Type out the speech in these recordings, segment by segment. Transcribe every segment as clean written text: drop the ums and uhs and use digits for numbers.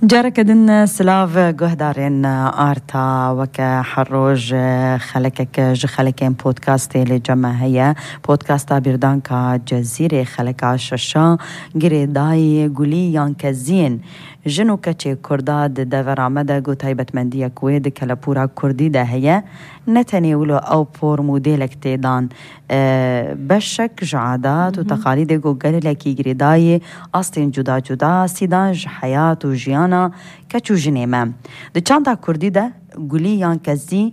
جارك دن سلاف جهدارين آرتا وكا حروج خلكك جخلكين بودكاستي لجمع هيا بودكاستا بيردانكا جزيرة خلكا ششا جري داي قولي كزين جنو كتشي كرداد دافر عمدا قو تايبت مندية كويد كالابورا كردي دا هيا نتاني ولو أو بور موديلك تيدان بشك جعادات وتقاليد قو قالي لكي جري داي أصلين جدا جدا سيدان حياة وجيانا كتشو جنيمة دي چانتا كردي دا قولي كزي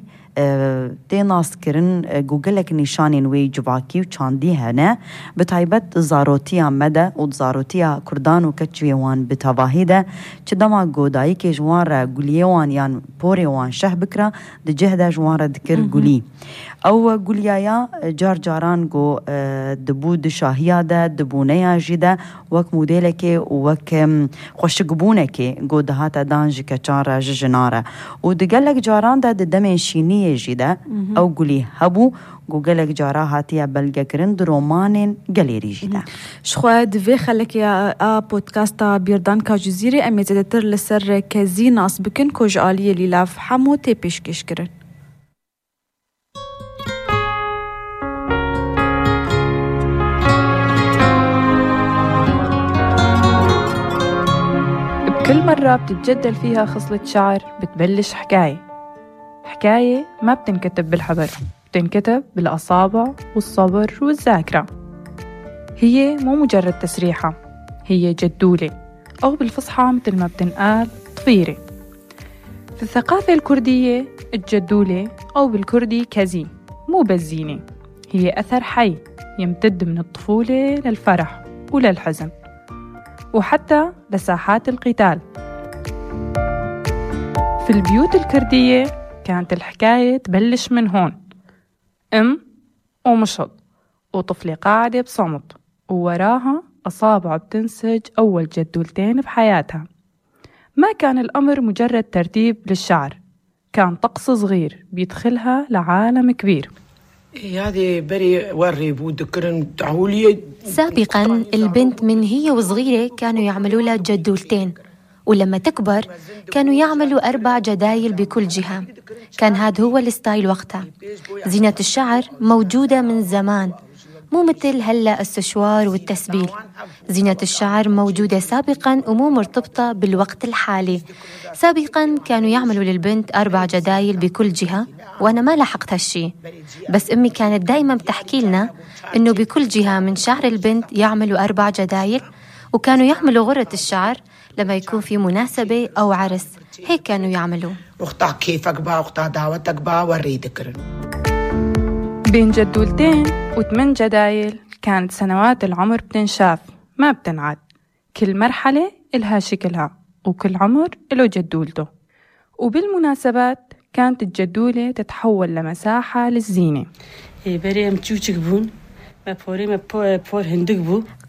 تي ناس كرن جوجلك نشانين وي جباكي وچاندي هنا بتايبت زاروتيا مدى وزاروتيا كردان وكتشويوان بتواهيدا چدما جوداي كي جوار جوليوان يان بوريوان شه بكرا دي جهدا جوار ذكر جولي او جوليايا جار جاران جو دبود شاهيا دا دبونيا جدا وك موديلكي وك خوشقبونكي جو دهاتا دانج كچار جناره ودقلك جاران دا دمشيني جدا او قولي هبو جوجلك جارا هاتيا بلغا كرند رومانين غاليري جدا شخوا دفي خلك يا بودكاستا بيردانكا جزيرة امي زدتر لسر كزي ناس بكن كوج آلية للاف حمو تي بيشكش كرن بكل مرة بتتجدل فيها خصلة شعر بتبلش حكاية ما بتنكتب بالحبر، بتنكتب بالأصابع والصبر والذاكرة. هي مو مجرد تسريحة، هي جدولة أو بالفصحى مثل ما بتنقال طفيرة. في الثقافة الكردية الجدولة أو بالكردي كزي مو بزينة، هي أثر حي يمتد من الطفولة للفرح وللحزن وحتى لساحات القتال. في البيوت الكردية كانت الحكاية تبلش من هون، ومشط وطفلة قاعدة بصمت ووراها أصابع بتنسج أول جدولتين بحياتها. ما كان الأمر مجرد ترتيب للشعر، كان طقس صغير بيدخلها لعالم كبير. هذه بري وري بودكرن تعولي. سابقا البنت من هي وصغيرة كانوا يعملوا لها جدولتين، ولما تكبر كانوا يعملوا 4 جدايل بكل جهة. كان هذا هو الستايل وقتها. زينة الشعر موجودة من زمان، مو مثل هلأ السشوار والتسبيل. زينة الشعر موجودة سابقا ومو مرتبطة بالوقت الحالي. سابقا كانوا يعملوا للبنت 4 جدايل بكل جهة، وأنا ما لاحقت هالشي، بس أمي كانت دايما بتحكي لنا إنه بكل جهة من شعر البنت يعملوا 4 جدايل، وكانوا يعملوا غرة الشعر لما يكون في مناسبة أو عرس. هيك كانوا يعملوا. أختها كيفك بقى، أختها دعوتك بقى، وريدك. بين جدولتين و8 جدايل كانت سنوات العمر بتنشاف ما بتنعد. كل مرحلة إلها شكلها وكل عمر إله جدولته. وبالمناسبات كانت الجدولة تتحول لمساحة للزينة.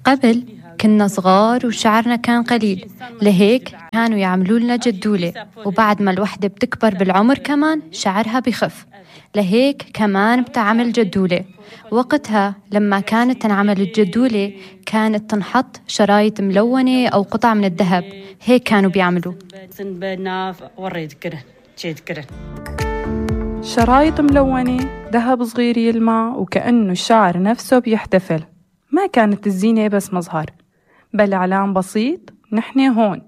قبل كنا صغار وشعرنا كان قليل، لهيك كانوا يعملوا لنا جدولة، وبعد ما الوحدة بتكبر بالعمر كمان شعرها بخف، لهيك كمان بتعمل جدولة. وقتها لما كانت تنعمل الجدولة كانت تنحط شرايط ملونة أو قطع من الذهب، هيك كانوا بيعملوا. شرايط ملونة، ذهب صغير يلمع وكأنه الشعر نفسه بيحتفل. ما كانت الزينة بس مظهر، بل إعلان بسيط، نحن هون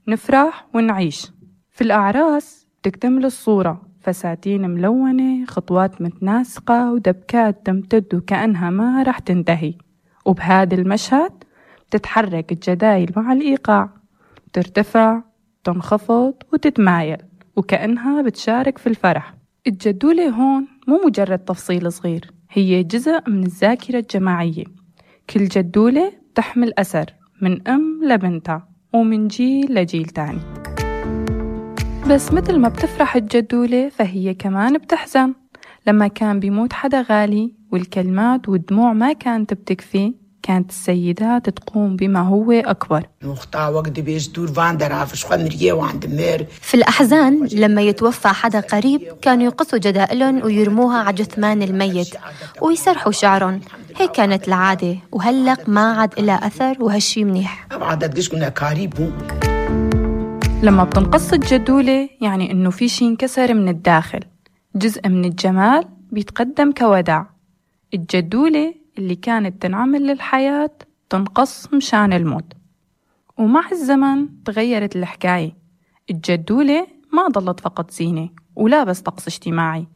نفرح ونعيش. في الأعراس تكتمل الصورة، فساتين ملونة، خطوات متناسقة، ودبكات تمتد وكأنها ما رح تنتهي. وبهذا المشهد تتحرك الجدايل مع الإيقاع، ترتفع، تنخفض وتتمايل وكأنها بتشارك في الفرح. الجدولة هون مو مجرد تفصيل صغير، هي جزء من الذاكرة الجماعية. كل جدولة تحمل أثر من أم لبنتها ومن جيل لجيل تاني. بس مثل ما بتفرح الجدولة فهي كمان بتحزن. لما كان بيموت حدا غالي والكلمات والدموع ما كانت بتكفي، كانت السيدات تقوم بما هو أكبر. في الأحزان لما يتوفى حدا قريب كانوا يقصوا جدائلهم ويرموها على جثمان الميت ويسرحوا شعرهم. هيك كانت العادة، وهلق ما عاد إلها أثر، وهالشي منيح. لما بتنقص الجدولة يعني إنه في شي انكسر من الداخل، جزء من الجمال بيتقدم كوداع. الجدولة اللي كانت تنعمل للحياة تنقص مشان الموت. ومع الزمن تغيرت الحكاية، الجدولة ما ضلت فقط زينة ولا بس طقس اجتماعي،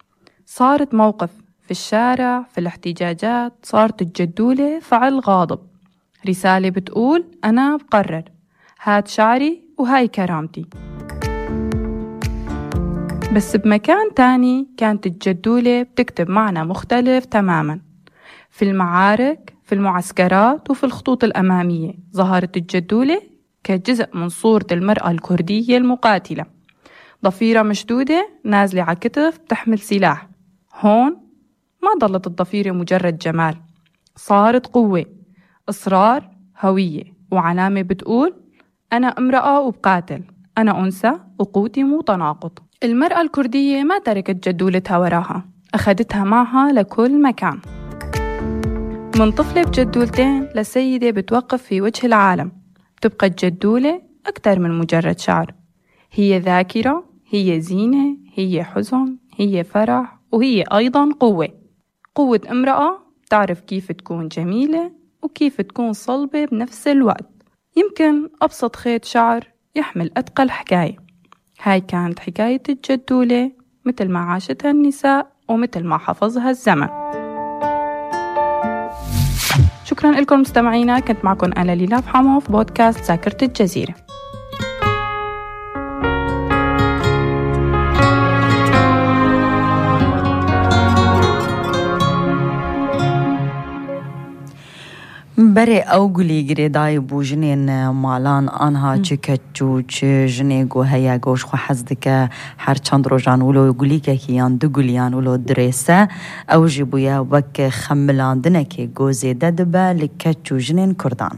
صارت موقف في الشارع، في الاحتجاجات. صارت الجدولة فعل غاضب، رسالة بتقول أنا بقرر، هاد شعري وهاي كرامتي. بس بمكان تاني كانت الجدولة بتكتب معنى مختلف تماماً. في المعارك، في المعسكرات، وفي الخطوط الأمامية ظهرت الجدولة كجزء من صورة المرأة الكردية المقاتلة، ضفيرة مشدودة نازلة على كتف بتحمل سلاح. هون ما ضلت الضفيرة مجرد جمال، صارت قوة، إصرار، هوية، وعلامة بتقول أنا امرأة وبقاتل، أنا أنثى وقوتي مو تناقض. المرأة الكردية ما تركت جدولتها وراها، أخدتها معها لكل مكان. من طفلة بجدولتين لسيدة بتوقف في وجه العالم، تبقى الجدولة أكثر من مجرد شعر، هي ذاكرة، هي زينة، هي حزن، هي فرح، وهي أيضاً قوة. قوة امرأة تعرف كيف تكون جميلة وكيف تكون صلبة بنفس الوقت. يمكن أبسط خيط شعر يحمل أثقل حكاية. هاي كانت حكاية الجدولة مثل ما عاشتها النساء ومثل ما حفظها الزمن. شكراً لكم مستمعينا، كنت معكم أنا ليلى فحمو في بودكاست ذاكرة الجزيرة. بري أوغلي جريداي بوجنين مالان آنها چكتچو چ جنيگو هيا گوش خو حزدك هر چند روزان ولو يقولي كيان دغليان ولو دريسه او جيبويا وك خملاندنك گوزي ددبا لكتچو جنين كردان.